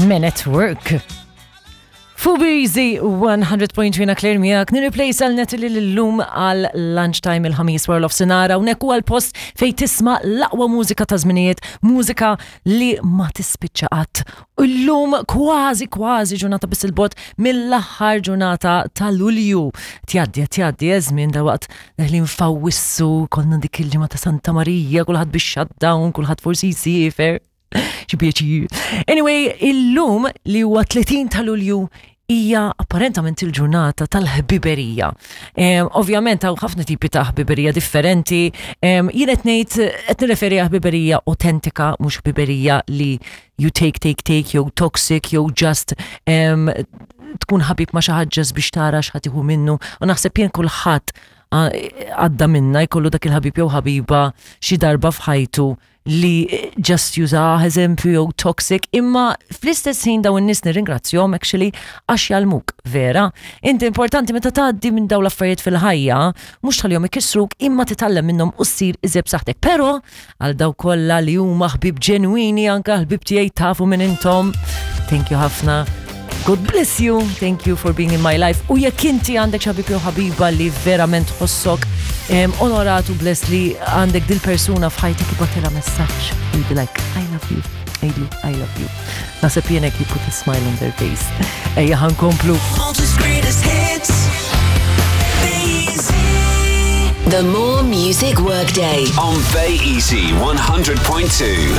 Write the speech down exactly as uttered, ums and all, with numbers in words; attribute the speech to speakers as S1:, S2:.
S1: Men at Work. Fubizi one hundred point three, Claire miegħek, nirreplace għal Natalie l-lum għal lunchtime il-Ħamis wara nofsinhar. Hawnhekk huwa l-post fej tisma' l-aqwa mużika ta' żminijiet, mużika li ma tispiċċa qatt. U llum kważi kważi ġurnata biss il-bogħod mill-aħħar ġurnata ta' Lulju. Tgħaddi, tgħaddi, żmien da waqt deħlin f'Awwissu, konna dik il-ġimgħa ta' Santa Marija, kulħadd bix shutdown, kulħadd forsi jsiefer. Xi pjaċir. Anyway, illum li huwa tletin ta' Lulju hija apparentament il-ġurnata tal-ħbiberija. Um, Ovvjament hawn ħafna tipi ta' ħbiberija differenti. Um, jien qed ngħid, qed nirreferi għal ħbiberija autentika, mhux ħbiberija li you take, take, take, jew toxic, jew just um, tkun ħabib ma' xi ħadd just biex tara x'ħa tieħu minnu. U naħseb jien kulħadd għadda minna jkollu dak il-ħabib jew ħabiba xi darba f'ħajtu li just jużah, eżempju, jew toxic, imma fl-istess ħin dawn in-nies nirringrazzjahom actually għax jgħallmuk, vera. Inti importanti meta tgħaddi minn dawn l-affarijiet fil-ħajja, mhux tħallihom ikissruk, imma titgħallem minnhom u ssir iżjed b'saħħtek. Però għal daw kollha li huma ħbib ġenwini, anka ħbib tiegħi, tafu minn intom. Thank you ħafna. God bless you, thank you for being in my life. U jekk inti għandek ħabib jew ħabiba li verament tħossok um, onorat u blessed li għandek dil-persuna f'ħajtek, ibgħatilha messaġġ. You'll be like, "I love you, I do, I love you." Naħseb jenek you put a smile on their face. Ejja ħa nkomplu.
S2: Malta's greatest hits. Bay Easy.
S3: The More Music Workday.
S4: On Bay Easy one hundred point two.